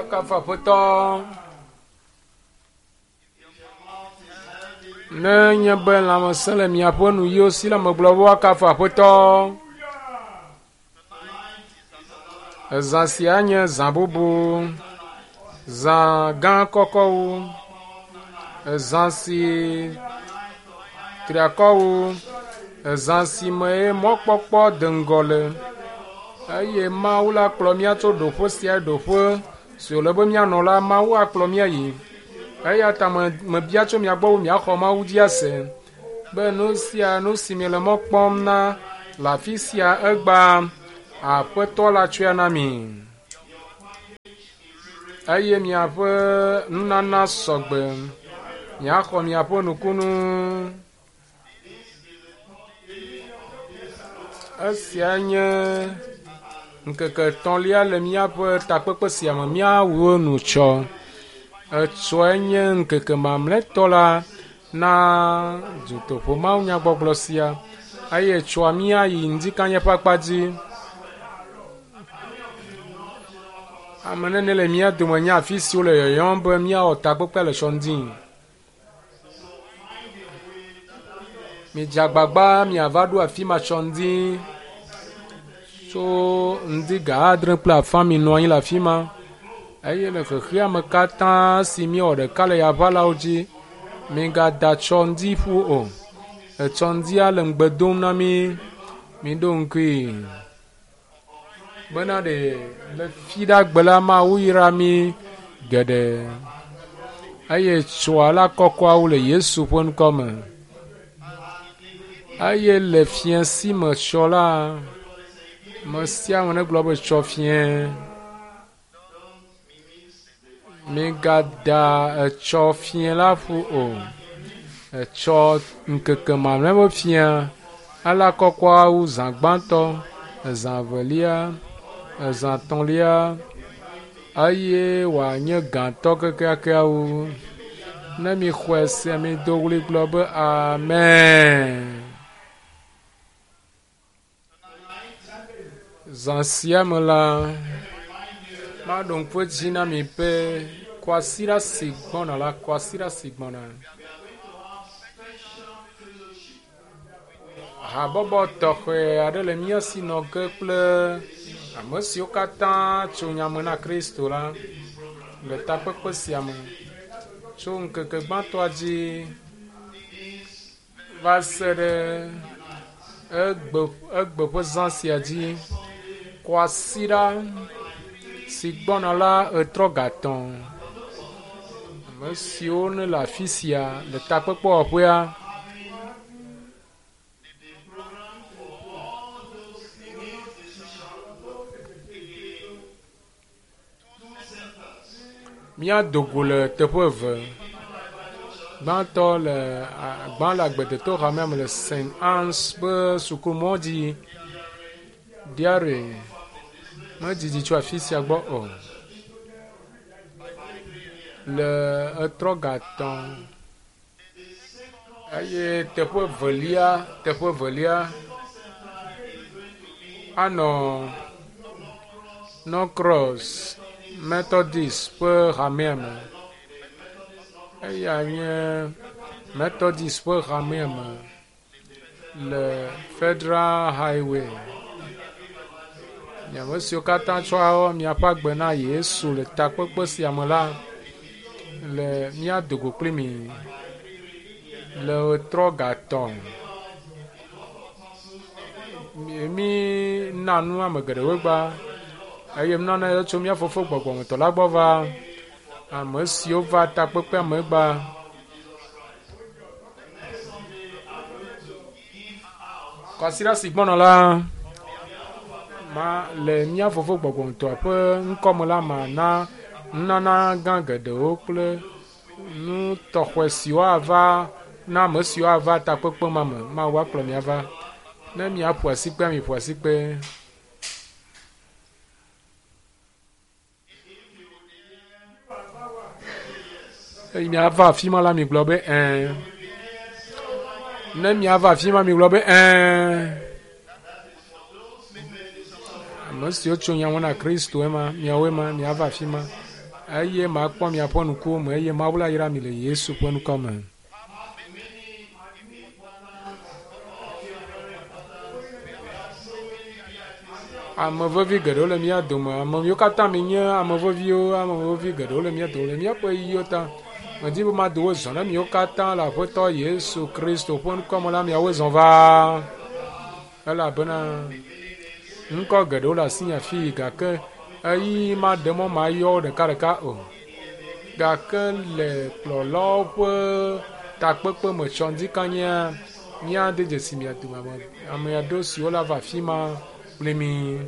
Woakafu Aƒetɔ. Ne nye be lãmesẽ le miaƒe nuyiwo si la, megblɔ be woakafu Aƒetɔ. Ezã sia nye zã bubu, zã gã kɔkɔ wu, ezã si triakɔ wu, ezã si me ye mɔkpɔkpɔ de ŋgɔ le eye Mawu la kplɔ mía tso ɖoƒe sia ɖoƒe si wòle be míanɔ la, Mawu akplɔ mía yi. Eya ta me mebia tso mia gbɔ be miaxɔ Mawu dzi ase be nu sia nu si miele mɔ kpɔm na le afi sia egbea, Aƒetɔ la tsɔe na mi. Eye miaƒe nunana sɔgbe, miaxɔ miaƒe nukunu. Esia nye ŋkeke etɔ̃lia le míaƒe takpekpe sia me. Míawu enu tsɔ. Etsɔe nye ŋkeke mamlɛtɔ la na dutoƒo mawunyagbɔgblɔ sia eye etsɔa míayi ŋdikanye ƒe akpa dzi. Ame nene le mía dome nye afi si wole yɔyɔm be míawɔ takpekpea le tsɔ ŋdi. Midze agbagba miava ɖo afi ma tsɔ ŋdi tso ŋdi ga adre kple afã minɔ anyi le afi ma eye le xexea me katã si míewɔ ɖeka le yaʋalawo dzi migada tsɔ ŋdi ƒu o. Etsɔ ŋdia le ŋugbe dom na mí. Miɖo ŋkui bena ɖe le fiɖagbe la Mawu yra mí geɖe eye tsoa la kɔkɔawo le Yesu ƒe ŋkɔ me. Eye le fiẽ si me tsɔ la, me sia ame negblɔ be tsɔ fiẽ. Migada etsɔ fiẽ la ƒu o. Etsɔ ŋkeke mamlɛ be fiẽ ala kɔkɔawo zã gbãtɔ, ezã evelia, ezã etɔ̃lia eye wòanye gãtɔ kekeakeawo. Ne mixɔe se mido ɣli gblɔ be amen. Zã sia me la, maɖo ŋku edzi na mi be kwasiɖa si gbɔna la, kwasiɖa si gbɔna. Habɔbɔ tɔxɛ aɖe le mía si nɔ ge kple ame siwo katã tso nyame na Kristo la le takpekpe sia me tso ŋkeke gbãtɔa dzi va se ɖe egbe egbe ƒe zã sia dzi. Kwasiɖa si gbɔna la etrɔ gatɔ̃. Ame siwo ne le afi sia le takpekpewɔƒea. Míado go le teƒe eve. Gbãtɔ le gbã le agbedetɔ hamea me le St. Anne's ƒe sukumɔ dzi. Diare medidi tso afi sia gbɔ o. Le etrɔ gatɔ̃ eye teƒe velia teƒe velia anɔ Norcross Methodist ƒe hamea me. Eya nye Methodist ƒe hamea me le Federal Highway. Ame siwo katã tsɔ miaƒe agbe na Yesu le takpekpe sia me la le míado go kpli mi le ɣetrɔ gatɔ̃. Mí na nu ame geɖewo gba eye nunana yawo tso mía fofo gbɔgbɔmetɔ la gbɔ va ame siwo va takpekpea me gba. Kwasiɖa si gbɔna la, ma le mía fofo gbɔgbɔmetɔa ƒe ŋkɔme la mana nunana gã geɖewo kple nu tɔxɛ siwo ava na ame siwo ava takpekpe ma me. Mawu akplɔ mi ava. Ne miaƒo asikpea, miƒo asikpe. Eye miava afi ma la, migblɔ be ɛ̃. Ne miava afi ma, migblɔ be ɛ̃. Ame siwo tso nya me na Kristo ema, miawoe ma, miava afi ma. Eye makpɔ miaƒe ŋkuwo me eye Mawu la yra mi le Yesu ƒe ŋkɔ me. Ame vevi geɖewo le mía dome. Ame yiwo katã mi nye ame veviwo, ame vevi geɖewo le mía dome le míaƒe ɣeyiɣiwo ta. Medi be mado wo zɔ na miwo katã le Aƒetɔ Yesu Kristo ƒe ŋkɔ me la miawoe zɔ va. Elabena ŋkɔ geɖewo le asinye afii gake ɣeyiɣi maɖe mɔ mayɔ wo ɖekaɖeka o. Gake le kplɔlawo ƒe takpekpe me tsɔŋdikanyia, míade dzesi mia dome ame aɖewo siwo la va afi ma kpli mi.